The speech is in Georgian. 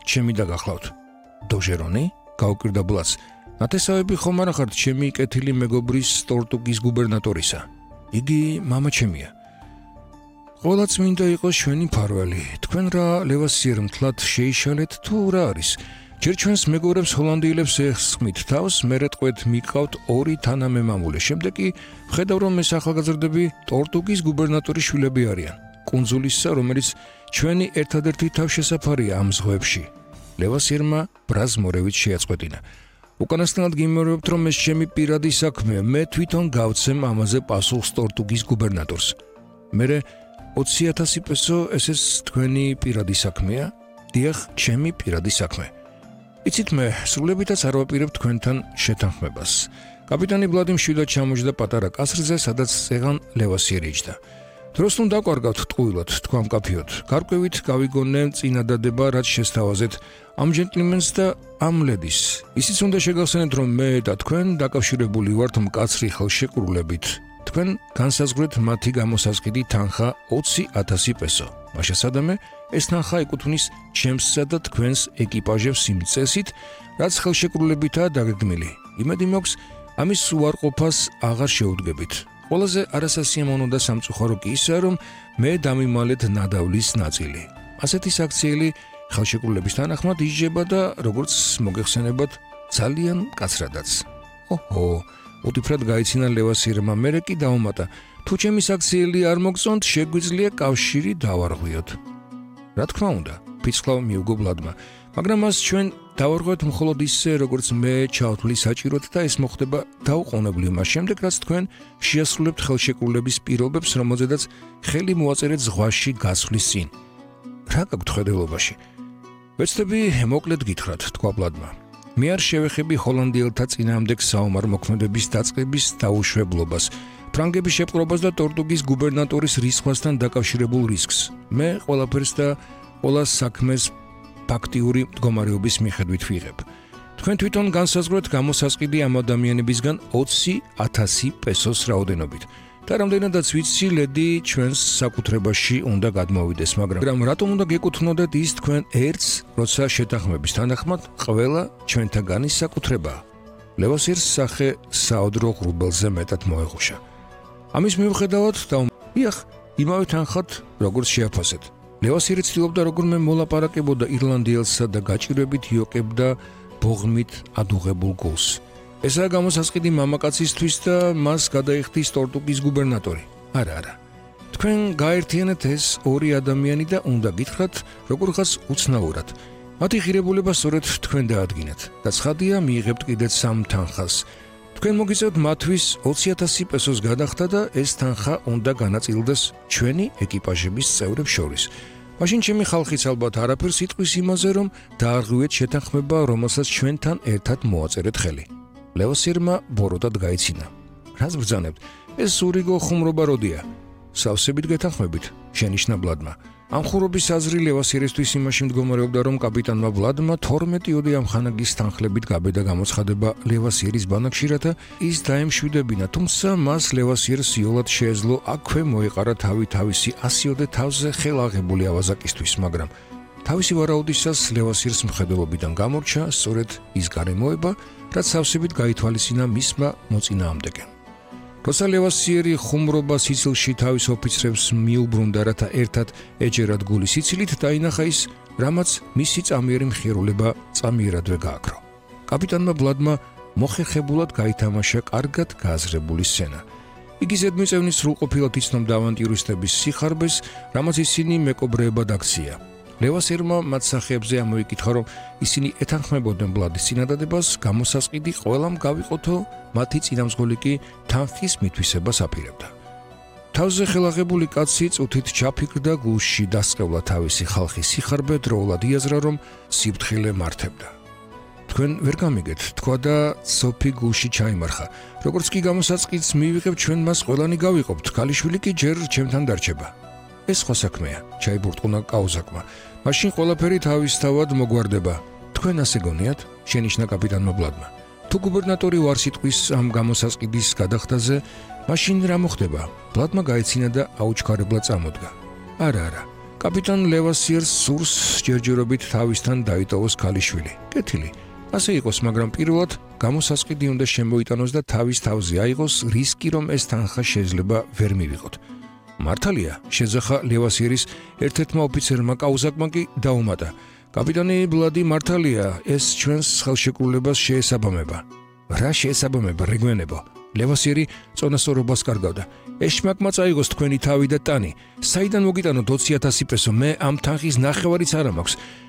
ჩემი დაგახლავთ. დოჟერონი? გაუკვირდა ბლას. ნათესავები ხომ არა ხართ ჩემი კეთილი მეგობრის ტორტუგის გუბერნატორისა. იგი მამა ჩემია. ყველა წმინდა იყოს ჩვენი მფარველი. თქვენ რა ლევასიერ მთლად შეიშალეთ თუ რა არის? ჯერ ჩვენს მეგობრებს ჰოლანდიელებს ეხსხმით თავს, მერე ტყვეთ მიყავთ 2 თანამემამულე. შემდეგ კი ვხედავ რომ ეს ახალგაზრდები ტორტუგის გუბერნატორის შვილები არიან. კუნძულისა, რომელიც ჩვენი ერთადერთი თავშესაფარია ამ ზღვებში. ლევასიერმა ბრაზ მორევით შეაწყვეტინა. უკანასკნელად გიმეორებთ რომ ეს ჩემი პირადი საქმეა. მე თვითონ გავცემ ამაზე პასუხს ტორტუგის გუბერნატორს. მერე 20,000 პესო ესეც თქვენი პირადი საქმეა? დიახ, ჩემი პირადი საქმე. იცით მე სრულებითაც არ ვაპირებ თქვენთან შეთანხმებას. კაპიტანი ბლადი მშვიდად ჩამოჯდა პატარა კასრზე, სადაც წეღან ლევასიერი იჯდა. დროს ნუ დაკვარგავთ ტყუილად, თქვა მკაფიოდ. გარკვევით გავიგონე წინადადება, რაც შესთავაზეთ ამ ჯენტლმენს და ამ ლედის. ისიც უნდა შეგახსენეთ, რომ მე და თქვენ დაკავშირებული ვართ მკაცრი ხელშეკრულებით. თქვენ განსაზღვრეთ მათი გამოსაზღვრელი თანხა 20,000 პესო. მაშა სადამე ეს თანხა ეკუთვნის ჩემსა და თქვენს ეკიპაჟებს იმ წესით, რაც ხელშეკრულებითაა დაგეგმილი. იმედი მაქვს, ამის უარყოფას აღარ შეუდგებით. ყველაზე არასასიამოვნო და სამწუხარო კი ისაა, რომ მე დამიმალეთ ნადავლის ნაწილი. ასეთი საქციელი ხელშეკრულების თანახმად იჯება და როგორც მოგეხსენებათ, ძალიან მკაცრადაც. ოჰო, უთიფრად გაიცინა ლევასიერმა, მერე კი დაუმატა. თუ ჩემი საქციელი არ მოგწონთ, შეგვიძლია კავშირი დავარღვიოთ. რა თქმა უნდა, ფიცხლავ მიუგო ბლადმა, მაგრამ მას ჩვენ დავარღვევთ მხოლოდ ისე, როგორც მე ჩავთვლი საჭიროდ და ეს მოხდება დაუყოვნებლივ მას შემდეგ, რაც თქვენ შეასრულებთ ხელშეკრულების პირობებს, რომელზედაც ხელი მოაწერეთ ზღვაში გასვლის წინ. რა გაქვთ ხედელობაში? ვეცდები მოკლედ გითხრათ, თქვა ბლადმა. მე არ შევეხები ჰოლანდიელთა წინააღმდეგ საომარ მოქმედების დაწყების დაუშვებლობას, ფრანგების შეპყრობას და ტორტუგის გუბერნატორის რისხვასთან დაკავშირებულ რისკს. მე ყველაფერს და ყველა საქმეს ფაქტიური მდგომარეობის მიხედვით ვიღებ. თქვენ თვითონ განსაზღვრეთ გამოსაზღვრელი ამ ადამიანებისგან 20,000 პესოს რაოდენობით. და რამდენადაც ვიცი, ლედი ჩვენს საკუთრებაში უნდა გადმოვიდეს, მაგრამ რატომ უნდა გეკუთვნოდეთ ის თქვენ ერთს, როცა შეთანხმების თანახმად ყველა ჩვენთაგანის საკუთრებაა? ლევასიერს სახე საოდრო ღრუბელზე მეტად მოეღუშა. ამის მიუხედავად დიახ, იმავე თანხად, როგორც შეაფასეთ. ლევასიერი ცდილობდა როგორმე მოლაპარაკებოდა ირლანდიელსა და გაჭირვებით იოკებდა ბოღმით ადუღებულ გულს. ესაა გამოსასყიდი მამაკაცისთვის და მას გადაიხდის ტორტუგის გუბერნატორი. არა. თქვენ გაერთიანეთ ეს 2 ადამიანი და უნდა გითხრათ, როგორღაც უცნაურად. მათი ღირებულება სწორედ თქვენ დაადგინეთ და ცხადია მიიღებთ კიდეც 3 თანხას. თქვენ მოგიწევთ მათთვის 20,000 პესოს გადახდა და ეს თანხა უნდა განაწილდეს ჩვენი ეკიპაჟების წევრებს შორის. მაშინ ჩემი ხალხიც ალბათ არაფერს იტყვის იმაზე, რომ დაარღვიეთ შეთანხმება, რომელსაც ჩვენთან ერთად მოაწერეთ ხელი. ლევასიერმა ბოროტად გაიცინა. რას ბრძანებთ? ეს ურიგო ხუმრობა როდია? სავსებით გეთანხმებით, შენიშნა ბლადმა. ამ ხურობის აზრი ლევასიერისთვის იმაში მდგომარეობდა, რომ კაპიტანმა ბლადმა 12 ოდე ამხანაგის თანხლებით გაბედა გამოცხადება ლევასიერის ბანაკში, რათა ის დაემშვიდებინა, თუმცა მას ლევასიერს იოლად შეეძლო აქვე მოეყარა თავისი 100 ოდე თავზე ხელაღებული ავაზაკისთვის, მაგრამ თავისი ვარაუდისას ლევასიერს მხედველობიდან გამორჩა სწორედ ის გარემოება, რაც სავსებით გაითვალისწინა მისმა მოწინააღმდეგემ. როცა ლევასიერი ხუმრობა სიცილში თავის ოფიცრებს მიუბრუნდა, რათა ერთად ეჯერათ გული სიცილით, დაინახა ის, რამაც მისი წამიერი მხიარულება წამიერადვე გააქრო. კაპიტანმა ბლადმა მოხერხებულად გაითამაშა კარგად გააზრებული სცენა. იგი ზედმიწევნის სრულყოფილად იცნობდა ავანტიურისტების სიხარბეს, რამაც ისინი მეკობრეებად აქცია. ლევასიერმა მათ სახეებზე ამოიკითხა, რომ ისინი ეთანხმებოდნენ ბლადის წინადადებას, გამოსასყიდი ყველამ გავიყოთო, მათი წინამძღოლი კი თანხის მითვისებას აპირებდა. თავზე ხელაღებული კაცი წუთით ჩაფიქრდა, გულში დასყევლა თავისი ხალხის სიხარბე, დროულად იაზრა, რომ სიფრთხილე მართებდა. თქვენ ვერ გამიგეთ, თქვა და სოფი გულში ჩაიმარხა. როგორც კი გამოსაწყიდს მივიღებ, ჩვენ მას ყველანი გავიყოფთ, ქალიშვილი კი ჯერ ჩემთან დარჩება. ეს სხვა საქმეა, ჩაიბურტყუნა კაუზაკმა. მაშინ ყველაფერი თავისთავად მოგვარდება. თქვენ ასე გონიათ? შენიშნა კაპიტანმა ბლადმა. თუ გუბერნატორი ვარს იტყვის ამ გამოსასყიდის გადახდაზე, მაშინ რა მოხდება? ბლადმა გაეცინა და აუჩქარებლად წამოდგა. არა, კაპიტან ლევასიერს სურს ჯერჯერობით თავისთან დაიტოვოს ქალიშვილი. კეთილი. ასე იყოს, მაგრამ პირველად გამოსასყიდი უნდა შემოიტანოს და თავის თავზე აიღოს რისკი, რომ ეს თანხა შეიძლება ვერ მივიღოთ. მართალია, შეძახა ლევასიერის ერთ-ერთმა ოფიცერმა კაუზაკმა კი დაუმატა. კაპიტანი ბლადი მართალია, ეს ჩვენს ხელშეკრულებას შეესაბამება. რა შეესაბამება, რეგვენებო? ლევასიერი წონასწორობას კარგავდა. ეშმაკმა წაიღოს თქვენი თავი და ტანი. საიდან მოგიტანოთ 20,000 პესო? მე ამ თანხის ნახევარიც არ მაქვს.